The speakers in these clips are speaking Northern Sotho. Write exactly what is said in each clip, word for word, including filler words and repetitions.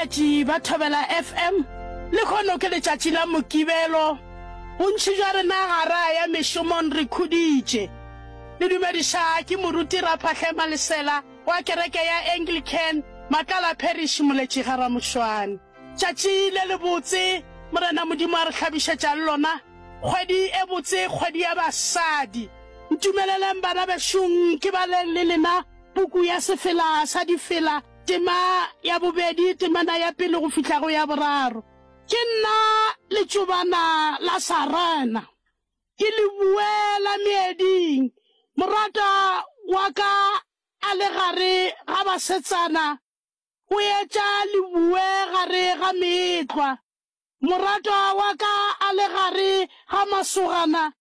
Batheeletši ba Thobela FM, lehono ke letšatši la Mokibelo. Bontši bja rena ga ra ya mešomong re khuditše. Le dumediša ke Moruti Raphahle Malesela wa kereke ya Anglican, Matlala Parish, Moletši ga Ramošwane. Tšatši le lebotse Morena Modimo a re hlabišetšang lona, kgwedi e botse, kgwedi ya basadi. Ntumeleleng bana bešong ke baleng le lena puku ya Sefela sa Difela, tema ya bobedi, temana ya pele go fihla go ya boraro. Ke nna letšobana la Sarena, ke lebue la meeding, moratwa wa ka a le gare ga basetsana, o etša lebue gare ga meetlwa. Moratwa wa ka a le gare ga masogana,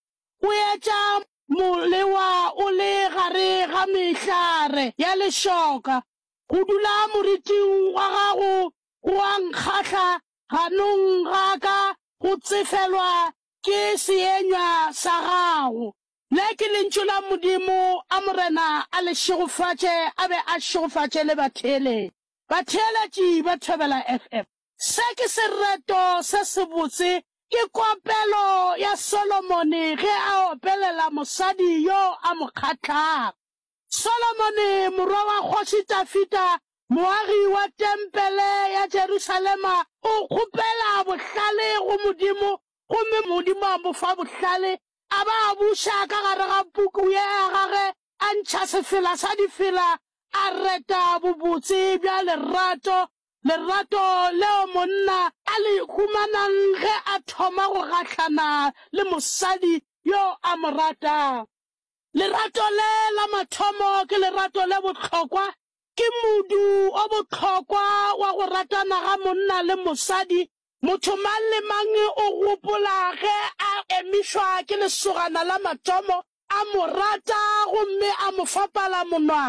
o etša molewa o le gare ga mehlare ya lešoka. Go dula moriting wa gago go a nkgahla, ganong ga ka go tsefelwa ke seenywa sa gago. Le ke lentšu la Modimo, a Morena a le šegofatše a be a šegofatše le batheeletši. Batheeletši ba Thobela FM. Se ke sereto se sebotse, ke kopelo ya Solomone ge a opelela mosadi yo a mo kgahlago. Solomone morwa wa Kgoši Dafida, moagi wa tempele ya Jerusalema, o kgopela bohlale go Modimo, gomme Modimo a mo fa bohlale, a ba a buša ka gare ga puku ye ya gagwe, a ntšha sefela sa difela, a reta bobotse bja lerato, lerato leo monna a le humanang ge a thoma go gahlana le mosadi yo a mo ratang. Lerato le la mathomo ke lerato le bohlokwa, ke modu o bohlokwa wa go ratana ga monna le mosadi. Motho mang le mang o gopola ge a emišwa ke lesogana la mathomo, a mo rata gomme a mo fa palamonwana.